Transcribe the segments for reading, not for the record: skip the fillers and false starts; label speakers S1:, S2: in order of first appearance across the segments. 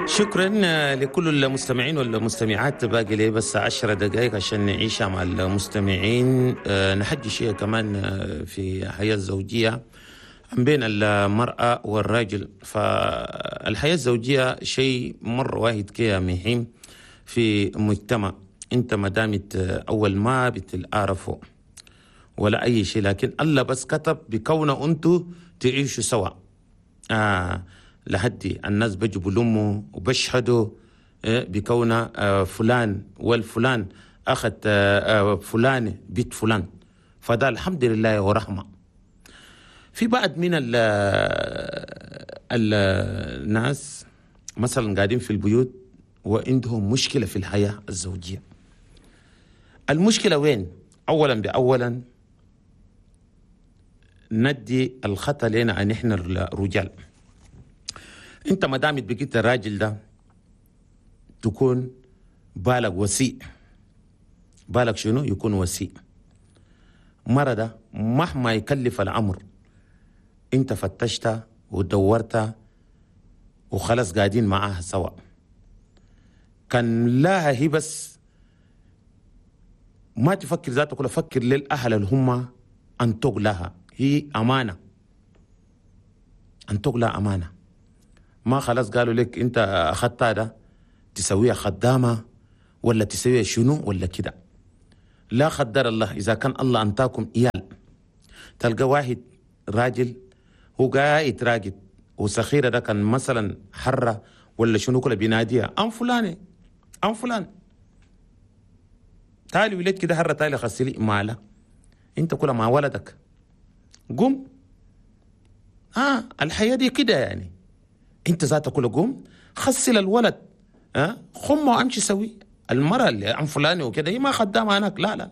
S1: شكرا لكل المستمعين والمستمعات. باقي لي بس 10 دقائق عشان نعيشها مع المستمعين. نحكي شيء كمان في الحياة الزوجية بين المرأة والراجل. فالحياة الزوجية شيء مرة واحد كده مهم في مجتمع. انت ما دامت اول ما بتعرفوا ولا اي شيء، لكن الله بس كتب بكون انتو تعيشوا سوا. لحد الناس بيجوا بلموا وبشهدوا بكون فلان والفلان اخذ فلان بيت فلان، فده الحمد لله ورحمه. في بعض من الناس مثلا قاعدين في البيوت وعندهم مشكله في الحياه الزوجيه. المشكله وين؟ اولا باولا ندي الخطا لنا ان احنا الرجال. انت ما دامت بقيت الراجل ده تكون بالك وسيع. بالك شنو؟ يكون وسيع. مرة ده مهما يكلف الامر انت فتشت ودورت وخلاص قاعدين معاها سوا. كان لها هي بس ما تفكر ذاتك ولا فكر للاهل اللي هم انتق لها، هي امانه. انتق لها امانه. ما خلاص قالوا لك انت اخذتها ده تسويها خدامه ولا تسويها شنو ولا كده. لا قدر الله اذا كان الله انتاكم ايال، تلقى واحد راجل هو قاعد راقد وسخيره ده كان مثلا حره ولا شنو كله بيناديها ام فلانه ام فلان تعالي ولد كده حره تعالي غسلي ماله. انت كلها مع ولدك قم. الحياه دي كده يعني. انت ذاتك كله قوم خسل الولد، خمه وامشي سوي. المرأة اللي عن فلاني وكده هي ما خدامة هناك، لا لا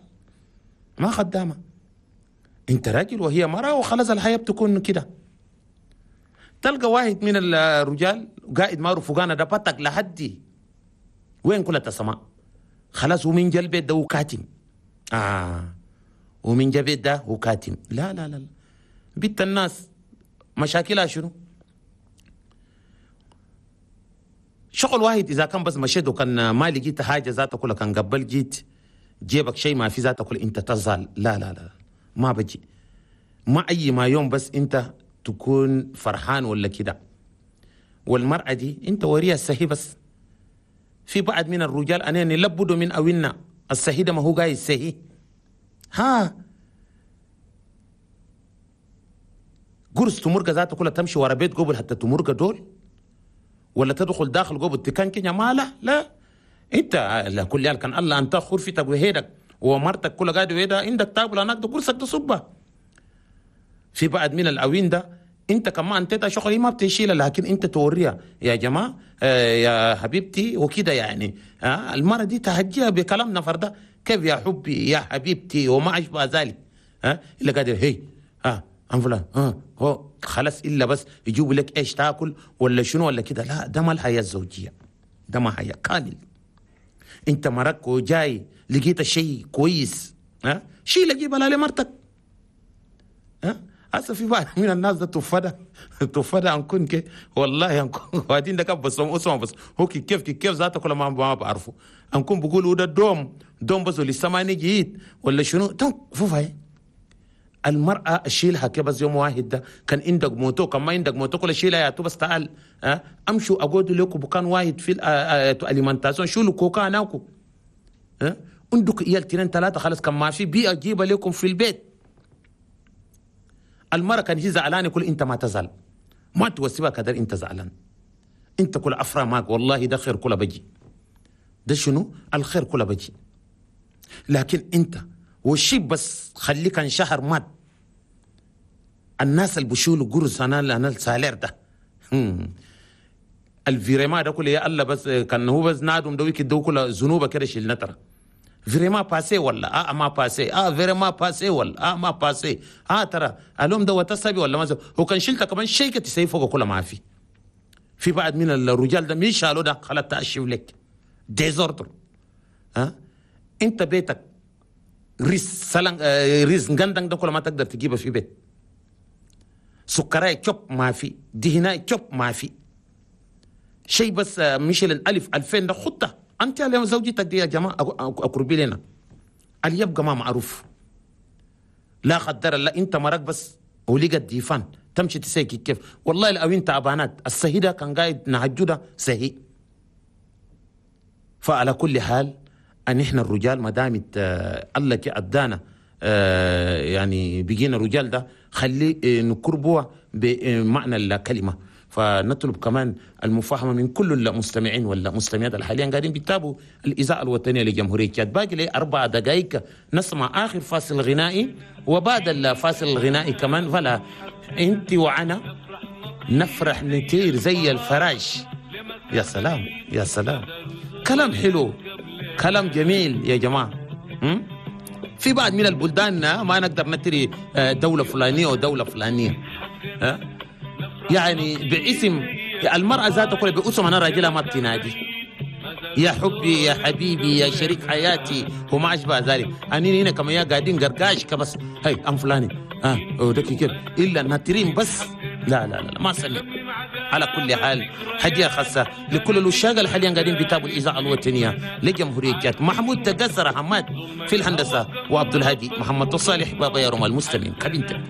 S1: ما خدامة. انت راجل وهي مرأة وخلاص الحياة بتكون كده. تلقى واحد من الرجال قائد مارو فوقانا ده بطق لحدي وين كلها تسمع خلاص، ومن جا البيت ده وكاتم. ومن جا البيت ده وكاتم. لا لا لا، بنت الناس مشاكلها شنو؟ شغل واحد إذا كان بس مشيت وكان ما لقيت حاجة ذاتك كلها كان قبل جيت جيبك شيء ما في ذاتك كله أنت تزال. لا لا لا ما بجي ما أي ما يوم بس أنت تكون فرحان ولا كده. والمرأة دي أنت وريها السهي بس. في بعض من الرجال أنا نلبدوا من أوينا السهي ده ما هو جاي السهي. ها قرص تمرقة ذاتك كلها تمشي ورا بيت قبل حتى تمرقة دول ولا تدخل داخل جوه التكان كده ما لا لا. انت لا كل يال كان الله انت غرفتك وهيدك ومرتك كلها قاعده وهيدا عندك تاكل هناك ده كرسك تصبه. في بعد من الاوين ده انت كمان انت شغل ما بتشيلها، لكن انت توريها يا جماعه يا حبيبتي وكده يعني. المره دي تهجيها بكلام نفر ده كيف يا حبي يا حبيبتي وما اشبه ذلك. الا قادر هي ام فلان هو خلاص الا بس يجيبوا لك ايش تاكل ولا شنو ولا كده. لا ده ما الحياه الزوجيه، ده ما حياه كامل. انت مرك وجاي لقيت شيء كويس شيء لقيه بلا لمرتك. هسه في بعض من الناس ده تفدى انكون كي والله انكون وبعدين ده بس اسمع بس هو كيف كيف ذاته كل ما بعرفه انكون بقولوا ده دوم بس لسه ما جيت ولا شنو فوفاي. المرأة شيلها كده بس يوم واحد ده كان عندك موتو كان ما عندك موتو كل شيلها يا تو بس تعال امشوا اقعدوا لكم بكان واحد في ال alimentation شيلوا كوكا هناكو عندك عيال 2 3 خلاص كان ما في بيئة جيبها لكم في البيت. المرأة كان هي زعلانة كل انت ما تزعل ما توسبها كدر انت زعلان انت كل افرا معك والله ده خير كله بجي ده شنو الخير كله بجي. لكن انت والشيء بس خليه كان شهر مات الناس اللي بيشيلوا قرص انا ال salaire ده ال virement ده كله يا الله بس كان هو بس نادم دويك دو كله ذنوبه كده شيل نترى virement passé ولا ما passé virement passé ولا ما passé ترى الوم ده وتسبي ولا ما هو كان شلته كمان شيء تسيف فوق كله ما في بعد من الرجال ده مين شالوا ده خلاص تأشف لك désordre. انت بيتك ريس سلان ريس غندن ده كله ما تقدر تجيبه في بيت. سكراي شوب ما في، دهناي شوب ما في. شيء بس ميشيلن 1000 2000 ده خطه انت على زوجتك دي يا جماعة اقربي لنا اللي يبقى ما معروف. لا قدر الله انت مرق بس ولقى الديفان تمشي تسيكي كيف؟ والله لو انت ابانات السهيده كان قاعد نهجده سهي. فعلى كل حال ان احنا الرجال ما دامت الله ادانا يعني بقينا رجال ده خلي نكربوا بمعنى الكلمة. فنطلب كمان المفاهمه من كل المستمعين والمستمعات اللي حاليا قاعدين بيتابعوا الاذاعة الوطنية لجمهوريه تشاد. باقي لي 4 دقائق نسمع اخر فاصل غنائي، وبعد الفاصل الغنائي كمان فلا انت وانا نفرح نطير زي الفراش. يا سلام يا سلام، كلام حلو كلام جميل يا جماعة. في بعض من البلدان ما نقدر نتري دولة فلانيه ودولة فلانيه، يعني باسم المرأة ذاتها كلها باسم أنا راجلها ما بتنادي يا حبي يا حبيبي يا شريك حياتي وما أشبه ذلك. أني هنا كما يا قاعدين قرقاش كبس هاي أم فلاني ودك كده إلا ناترين بس. لا لا لا ما سلم. على كل حال هدية خاصة لكل الوشاق اللي حاليا قاعدين بيتابعوا الإذاعة الوطنية لجمهورية تشاد. محمود تقصر حماد في الهندسة، وعبد الهادي محمد الصالح بابا يا رمال المستمعين كابينتك.